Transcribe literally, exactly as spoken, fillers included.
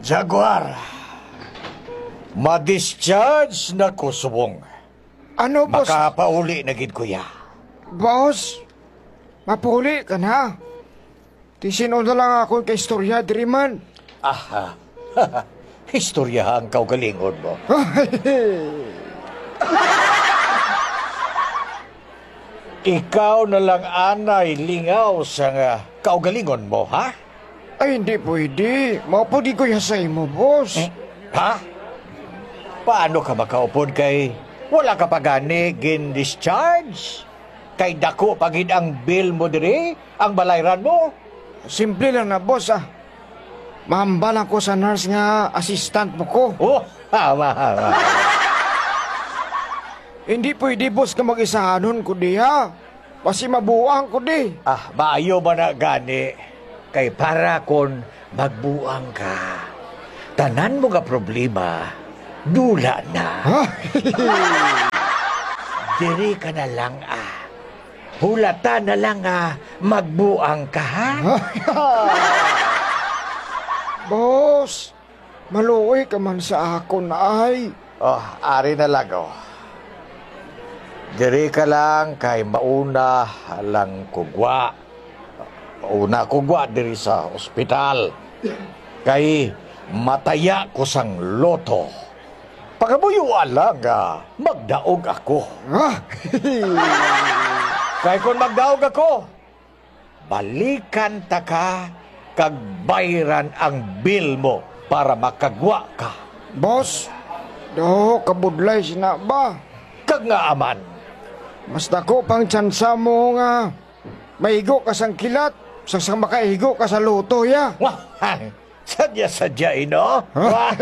Jaguar, ma-discharge na ko subong. Ano, boss? Makapauli na gid ko ya. Boss, mapuli ka na. Ti sin-o na lang akon kaistorya diri man. Aha. Istoryaha ang kaugalingon mo. Ikaw na lang anay lingaw sa nga kaugalingon mo, ha? Ay, hindi pwede. Mao po di ko yasay mo, boss. Eh, ha? Paano ka makaupod kay wala ka pa gani gin-discharge? Kay dako pa gid ang bill mo diri, ang balayran mo. Simple lang na, boss, ah. Mahambal lang ko sa nurse nga assistant mo ko. Oh, tama, tama. Hindi pwede, boss, ka mag-isahanon ko diha. Basi mabuang ko di. Ah, maayo ba na gani? Kay para kon magbuang ka, tanan mo nga problema, dula na. Ha? Diri ka na lang, ah. Hulata na lang, ah, magbuang ka, ha? Boss, maluoy ka man sa akon, ay. Oh, ari na lang, oh. Diri ka lang kay mauna lang kugwa. Mauna kugwa diri sa ospital. Kay mataya ko sang loto. Pangamuyoa lang nga magdaog ako. Ah? Kay kon magdaog ako, balikan ta ka kag bayran ang bill mo para makagwa ka. Boss, daw kabudlay sina ba? Kag nga aman. Mas dako pang tsansa mo nga maigo ka sang kilat, sa, sa makaigo ka sa luto, ya. Wah, sadya-sadya, ino? Wah.